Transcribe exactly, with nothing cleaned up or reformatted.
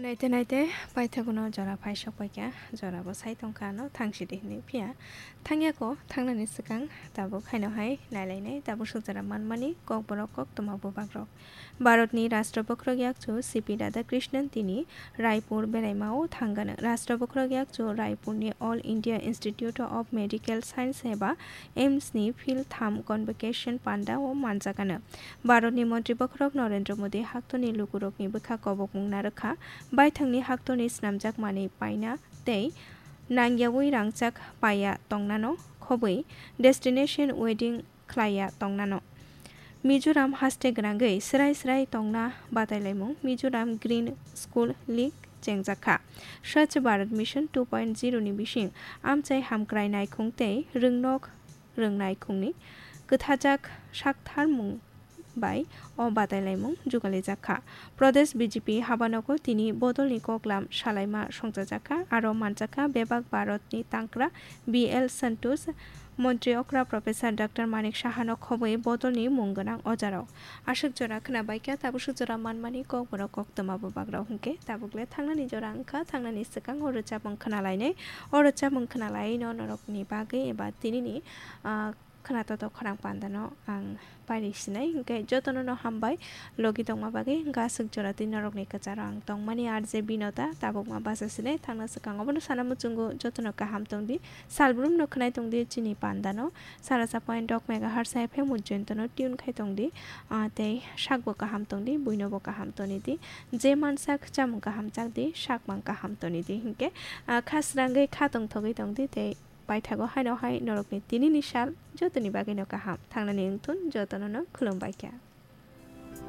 Naite naite paithagono jora phai sokpaikha, jorabo sai tongkha ano thangsidi hinwi phiya thangyako, thangnani swkang tabuk haino hai nailainai tabuk suk jora manmani kokborok koktwma bubagrok. Bharatni Rashtra Bokhorok Yakchu C P Radhakrishnan tini Raipur beraimao thangano. Rashtra Bokhorok Yakchu Raipurni All India Institute of Medical Science eba AIIMS ni phil tham convocation pandao manjakano. Bharatni Montri Bokhorok Narendra Modi haktorni lukurokni bwkha kobokmung narwkha, baithangni haktorni snamjakmani paina tei nangyawi rangchak paiya tongnano khobwi destination wedding khlaiya tongnano. Mizoram haste gwnangwi srai srai tongna batailaimung Mizoram Green School League chengjakha. Swachh Bharat Mission two point zero ni bising amchai hamkrai naikhung tei rwngnok rwngnaikungni kwthajak saktharmung bai o batailaimung jugalijakha. Pradesh B J P habanogo tini bodolni koklam salaima songchajakha, aro manjakha bebak Bharatni tangkra B L Santosh, Montri okra Professor Doctor Manik Sahano khobwi bodolni mung gwnang ojarok. Aswk jora khwnabaikha, tabuk swk jora manmani kokborok koktwma bubagrok hinkhe tabukle thangnani jora wngkha, thangnani swkang o rwchapmung khwnalainai, o rwchapmung khwnalaino norokni bagwi eba tinini, ah, khwnatok khorang pandano ang pairi sinai, hinkhe jotono no hambai logi tongma bagwi, hinkhe aswk jora twi norokni kwcharo ang tongmani R J Binota, tabukma basa sinai, thangna swkang obono sana muchungo jotono kaham tongdi, salbrumno khwnai tongdi chini pandano, sara sa point dok megahertz F M Ujjaintono tune khai tongdi, ah, tei sakbo kaham tongdi, buinobo kaham tonidi, je mansak chamung kaham chakdi, sakmang kaham tonidi, hinkhe, ah, kha srangwi kha tongthogwi tongdi tei paithago haino hai norokni tinini sal jotoni bagwino kaham thangnani wngthun, jotono no khulumbaikha.